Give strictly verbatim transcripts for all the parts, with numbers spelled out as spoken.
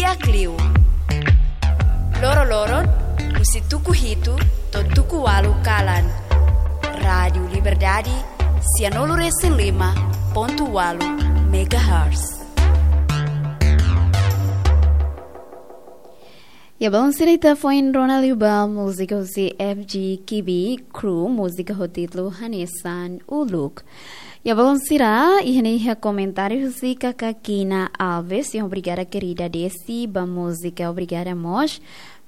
Di'ak liu. Loro-loron, husi tuku hitu to'o tuku ualu kalan. Rádiu Liberdade, sianulu-resin-lima pontu ualu megahertz. Ya, balun sira, ita foin rona liu ba múzika husi F G Kibi Crew, múzika ho títulu hanesan Uluk. Ya, balun sira, iha ne'e iha komentáriu husi Kaka Kina Alves, yang obrigada querida Desi, ba múzika, obrigada mós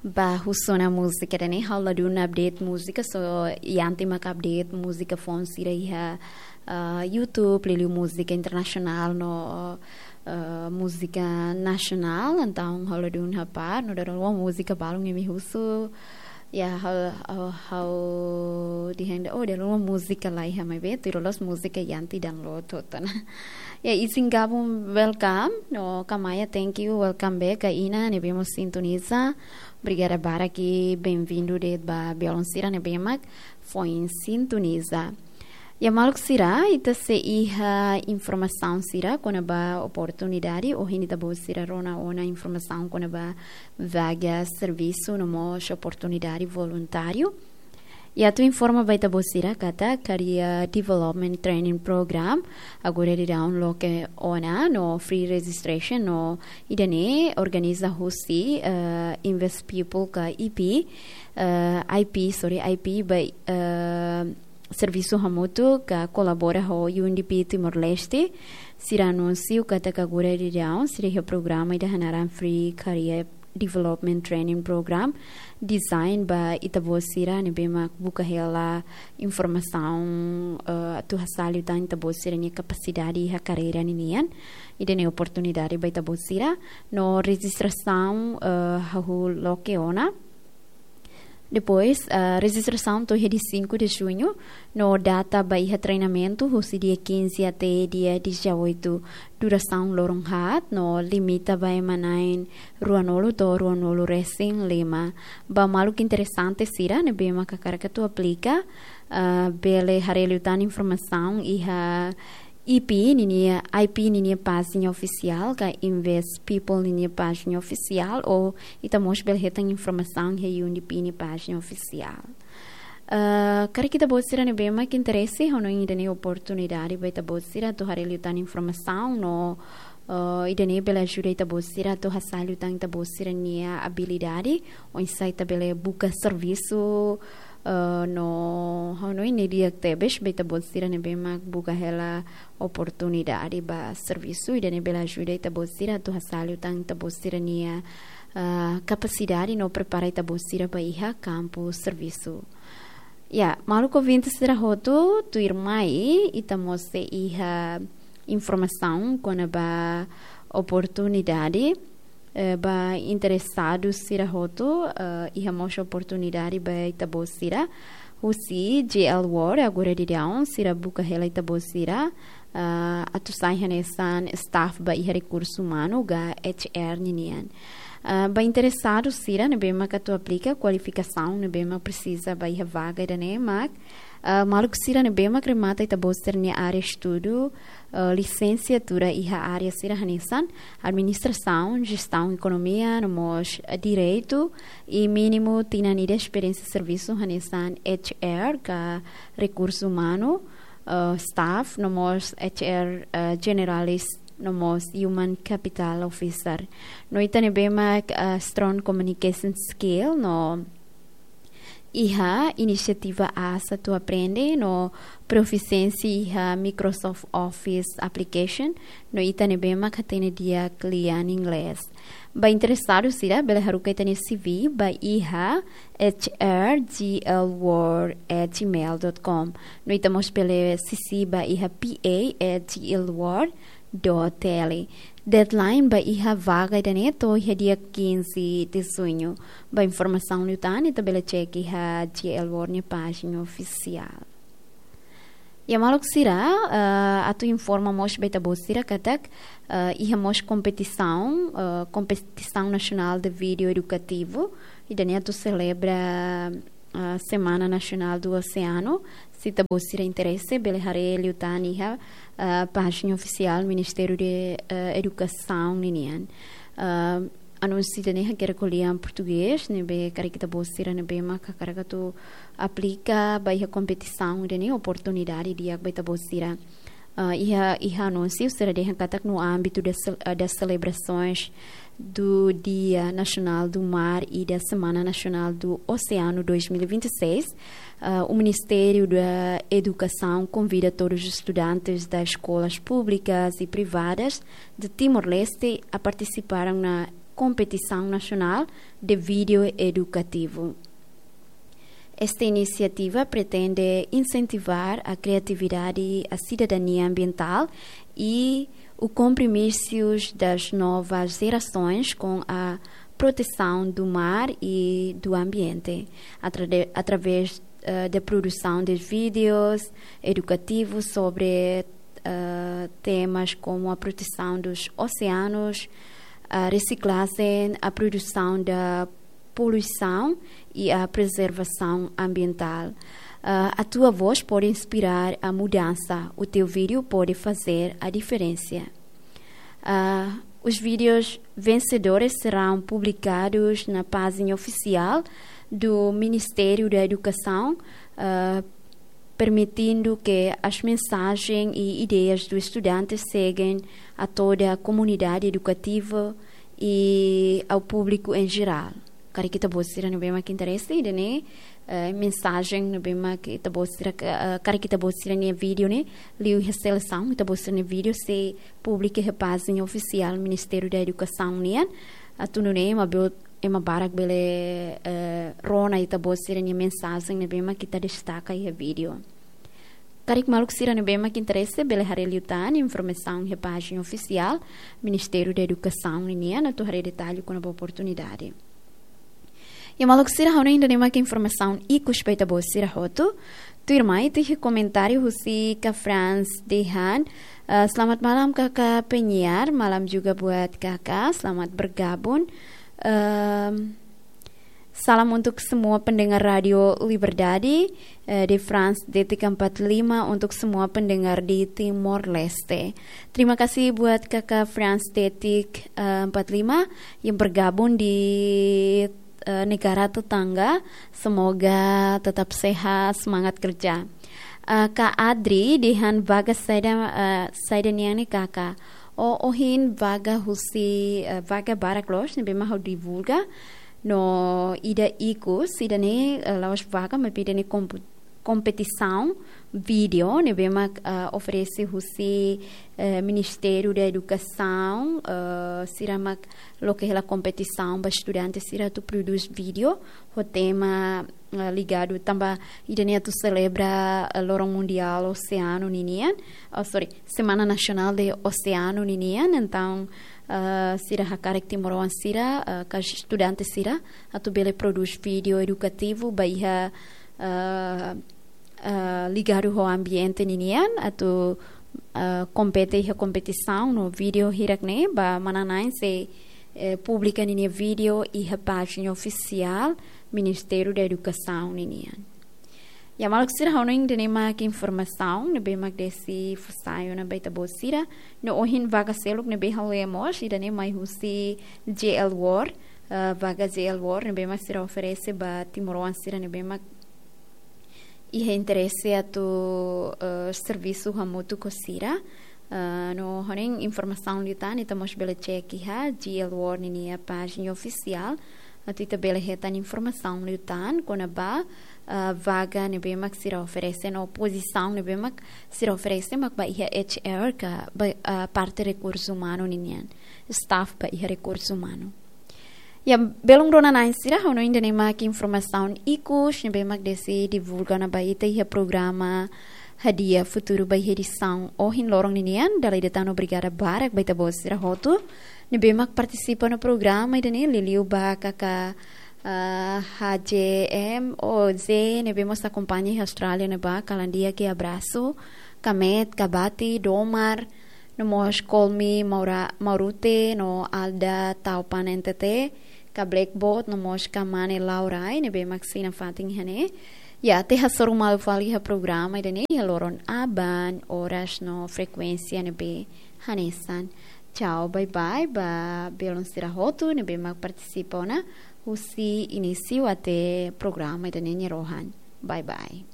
ba husu ona múzika, ida-ne'e ha'u ladún update múzika, só Yanti mak update múzika foun sira iha, ah, YouTube, liuliu múzika internasionál no, ah, múzika nasionál, entaun ha'u ladún hapar, no dala ruma múzika balun imi husu, ya, ha'u, ha'u, ha'u dehan, oh, dala ruma múzika laiha, maibé tuir loloos múzika Yanti download hotu ona. Ya, Isin Gabun, welcome. No, Kamaya, thank you, welcome back. Ka Ina, ne'ebé mós sintoniza. Obrigada barak, bem-vindu de'it ba balun sira ne'ebé mak foin sintoniza. Ya, maluk sira, ita sei iha informasaun sira kona-ba oportunidade, ohin ita-boot sira rona ona informasaun kona-ba vaga servisu no mós oportunidade voluntáriu. Ya, atu informa ba ita-boot sira katak Career Development Training Program agora daudaun loke ona no free registration no ida-ne'e organiza husi, eh, Invest People ka I P, eh, I P, sorry, I P ba, eh, servisu hamutuk ka kolabora ho U N D P Timor-Leste. Sira anunsiu katak agora daudaun sira iha programa ida hanaran Free Career Development Training Program, design ba ita-boot sira ne'ebé mak buka hela informasaun, eh, atu hasa'e liután ita-boot sira-nia kapasidade iha karreira ninian. Ida-ne'e oportunidade ba ita-boot sira. No rejistrasaun, eh, hahú loke ona. Depois, ah, rejistrasaun to'o iha dia cinco de junho, no data ba iha treinamentu husi dia quinze até dia dezoito, durasaun loron haat, no limita ba ema na'in ruanulu to'o ruanulu-resin-lima. Ba maluk interesante sira ne'ebé mak hakarak atu aplika, ah, bele haree liután informasaun iha I P ninia, I P ninia pájina ofisiál, ka Invest People ninia pájina ofisiál, ou ita mós bele hetan informasaun iha U N D P nia pájina ofisiál. Eh, karik ita-boot sira ne'ebé mak interese, ha'u hanoin ida-ne'e oportunidade ba ita-boot sira atu haree liután informasaun no, eh, ida-ne'e bele ajuda ita-boot sira atu hasa'e liután ita-boot sira-nia abilidade, oinsá ita bele buka servisu, eh, no ha'u hanoin ne'e di'ak tebes ba ita-boot sira ne'ebé mak buka hela oportunidade ba servisu, ida-ne'e bele ajuda ita-boot sira atu hasa'e liután ita-boot sira-nia, ah, kapasidade no prepara ita-boot sira ba iha kampu servisu. Ya, maluk ouvinte sira hotu, tuirmai ita mós sei iha informasaun kona-ba oportunidade, eh, ba interesadu sira hotu, eh, iha mós oportunidade ba ita-boot sira. Husi J L World, agora daudaun, sira buka hela ita-boot sira, eh, atu sai hanesan staff ba iha rekursu umanu ka H R ninian. Eh, ba interesadu sira ne'ebé mak atu aplika, kualifikasaun ne'ebé mak presiza ba iha vaga ida-ne'e mak, eh, maluk sira ne'ebé mak remata ita-boot sira-nia área estudu, eh, lisensiatura iha área sira hanesan administrasaun, jestaun ekonomia, no mós, eh, direitu, i mínimu tinan ida esperiénsia servisu hanesan H R ka rekursu umanu, eh, staff, no mós H R, eh, generalist, no mós human capital officer. No ita ne'ebé mak, eh, strong communication skill, no iha inisiativa asa atu aprende no profisiénsia iha Microsoft Office application, no ita ne'ebé mak hatene di'ak lian inglés. Ba interesadu sira bele haruka ita-nia C V ba iha H R G L world at gmail dot com. No ita mós bele sisi ba iha P A at G L world dot T L. Deadline ba iha vaga ida-ne'e to'o iha dia quinze de junho. Ba informasaun liután ita bele cek iha G L World nia pájina ofisiál. Ya maluk sira, eh, atu informa mós ba ita-boot sira katak, eh, iha mós kompetisaun, eh, kompetisaun nasionál de vídeo edukativu, ida-ne'e atu selebra, ah, Semana Nasionál do Oceano. Se ita-boot sira interese, bele haree liután iha, ah, pájina ofisiál Ministériu de, eh, Edukasaun ninian. Ah, anúnsiu ida-ne'e hakerek ho lian portugés, ne'ebé karik ita-boot sira ne'ebé mak hakarak atu aplika ba iha kompetisaun ida-ne'e, oportunidade di'ak ba ita-boot sira. Ah, iha, iha anúnsiu sira dehan katak no ámbito das cel-, ah, das celebrações do Dia Nacional do Mar e da Semana Nacional do Oceano dois mil e vinte e seis, ah, o Ministério da Educação convida todos os estudantes das escolas públicas e privadas de Timor-Leste a participarem na competição nacional de vídeo educativo. Esta iniciativa pretende incentivar a criatividade e a cidadania ambiental e os compromissos das novas gerações com a proteção do mar e do ambiente, atra-, através, eh, da produção de vídeos educativos sobre, eh, temas como a proteção dos oceanos, a reciclagem, a produção da poluição e a preservação ambiental. Ah, a tua voz pode inspirar a mudança. O teu vídeo pode fazer a diferença. Ah, os vídeos vencedores serão publicados na página oficial do Ministério da Educação, ah, permitindo que as mensagens e ideias dos estudantes cheguem a toda a comunidade educativa e ao público em geral. Karik ita-boot sira ne'ebé mak interese ida-ne'e, eh, mensajen ne'ebé mak ita-boot sira ka-, eh, karik ita-boot sira-nia vídeo ne'e, liu iha selesaun, ita-boot sira-nia vídeo sei publika iha pájina ofisiál Ministériu da Edukasaun nian, atu nune'e ema be-, ema barak bele, eh, rona ita-boot sira-nia mensajen ne'ebé mak ita destaka iha vídeo. Karik maluk sira ne'ebé mak interese bele haree liután informasaun iha pájina ofisiál Ministériu da Edukasaun ninian atu haree detallu kona-ba oportunidade. Ya maluk sira, ha'u hanoin ida-ne'e mak informasaun ikus ba ita-boot sira hotu. Tuirmai ita iha komentáriu husi Kak Franz dehan, eh, selamat malam Kakak penyiar, malam juga buat Kakak, selamat bergabung. Ehm, Salam untuk semua pendengar Radio Liberdade, eh, di France Detik empat lima untuk semua pendengar di Timor Leste. Terima kasih buat Kakak France Detik, eh, empat lima yang bergabung di, eh, negara tetangga. Semoga tetap sehat, semangat kerja. Eh, Kak Adri dehan vaga saida, eh, saida nian ne'e Kakak? Oh, ohin vaga husi, eh, vaga barak loos ne'ebé mak ha'u divulga. No ida ikus, ida-ne'e, eh, la'ós vaga, maibé ida-ne'e kompu-, kompetisaun vídeo ne'ebé mak, eh, oferese husi, eh, Ministériu da Edukasaun, eh, sira mak loke hela kompetisaun ba estudante sira atu prodús vídeo ho tema, eh, ligadu tanba ida-ne'e atu selebra, eh, Loron Mundiál Oseanu ninian, oh, sorry, Semana Nasionál de Oseanu ninian. Entaun, eh, sira hakarak timoroan sira, eh, ka estudante sira atu bele prodús vídeo edukativu ba iha, eh, eh, ligadu ho ambiente ninian atu, eh, kompete iha kompetisaun no vídeo hirak-ne'e ba manán-na'in sei, eh, publika ninia vídeo iha pájina ofisiál Ministériu da Edukasaun ninian. Ya maluk sira, ha'u hanoin ida-ne'e mak informasaun ne'ebé mak deside fó sai ona ba ita-boot sira. No ohin vaga seluk ne'ebé ha'u lee mós, ida-ne'e mai husi J L World, eh, vaga J L World ne'ebé mak sira oferese ba timoroan sira ne'ebé mak iha interese atu, eh, servisu hamutuk ho sira. Eh, no ha'u hanoin informasaun liután ita mós bele cek iha J L World ninia pájina ofisiál. Atu ita bele hetan informasaun liután kona-ba, eh, vaga ne'ebé mak sira oferese no pozisaun ne'ebé mak sira oferese mak ba iha H R ka ba, eh, parte rekursu umanu ninian. Staff ba iha rekursu umanu. Ya, belun rona-na'in sira, ha'u hanoin ida-ne'e mak informasaun ikus ne'ebé mak deside divulga ona ba ita iha programa Hadi'a Futuru ba iha edisaun ohin loron ninian. Dala ida tan obrigada barak ba ita-boot sira hotu ne'ebé mak partisipa no programa ida-ne'e, liuliu ba Kakak, ah, H J M O Z ne'ebé mós akompaña iha Austrália ne'ebá, kalan di'ak, abrasu, Kamet, Kabati, Domar, no mós Kolmi Maura-, Maurute, no Alda Taupan N T T, ka Blackboard, no mós ka Mane Laurai, ne'ebé mak sei nafatin iha ne'e. Ya, atu hasoru malu fali iha programa ida-ne'e iha loron aban, oras no frekuénsia ne'ebé hanesan. Tchau, bye bye ba belun sira hotu ne'ebé mak partisipa ona husi inísiu até programa ida-ne'e nia rohan. Bye bye.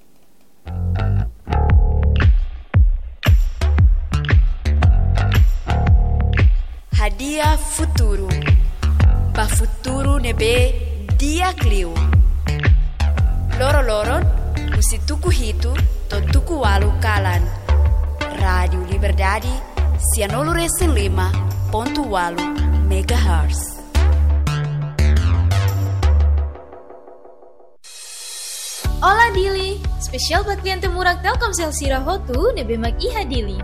Hadi'a Futuru. Ba futuru ne'ebé di'ak liu. Loroloron, husi tuku hitu to'o tuku ualu kalan. Rádiu Liberdade, sianulu-resin-lima pontu ualu megahertz. Olá Dili, espesiál ba kliente murak Telkomsel sira hotu ne'ebé mak iha Dili.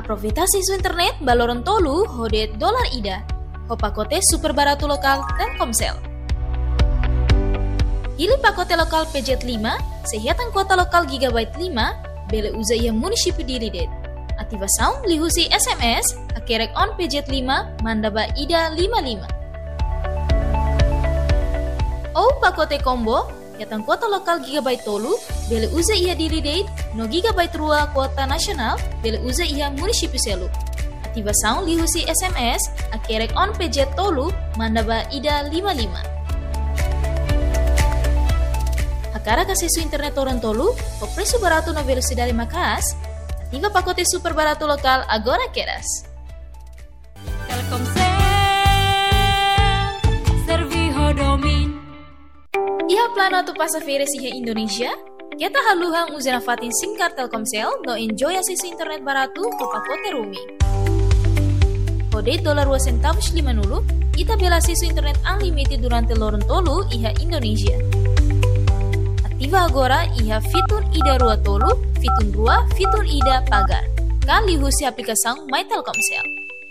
Aproveita asesu internet ba loron tolu ho de'it dolar ida, ho pakote super baratu lokál Telkomsel. Hili pakote lokál P Z lima, sei hetan kuota lokál gigabyte lima, bele uza iha munisípiu Dili de'it. Ativasaun liuhusi S M S, hakerek on P Z lima, manda ba ida lima lima. Ou pakote combo, hetan kuota lokál gigabyte tolu, bele uza iha Dili de'it, no gigabyte rua kuota nasionál, bele uza iha munisípiu seluk. Ativasaun liuhusi S M S, hakerek on P Z tolu, manda ba ida lima lima. Hakarak asesu internet loron tolu, ho presu baratu no velosidade maka'as, ativa pakote super baratu lokál agora kedas. Telkomsel, serve ho domin. Iha planu atu pasa férias iha Indonézia? Keta haluha uza nafatin SIM card Telkomsel no enjoy asesu internet baratu ho pakote roaming. Ho de'it dolar rua sentavus lima-nulu, ita bele asesu internet unlimited durante loron tolu iha Indonézia. Ativa agora iha fitun ida rua tolu, fitun rua, fitun ida pagar. Ka liuhusi aplikasaun My Telkomsel.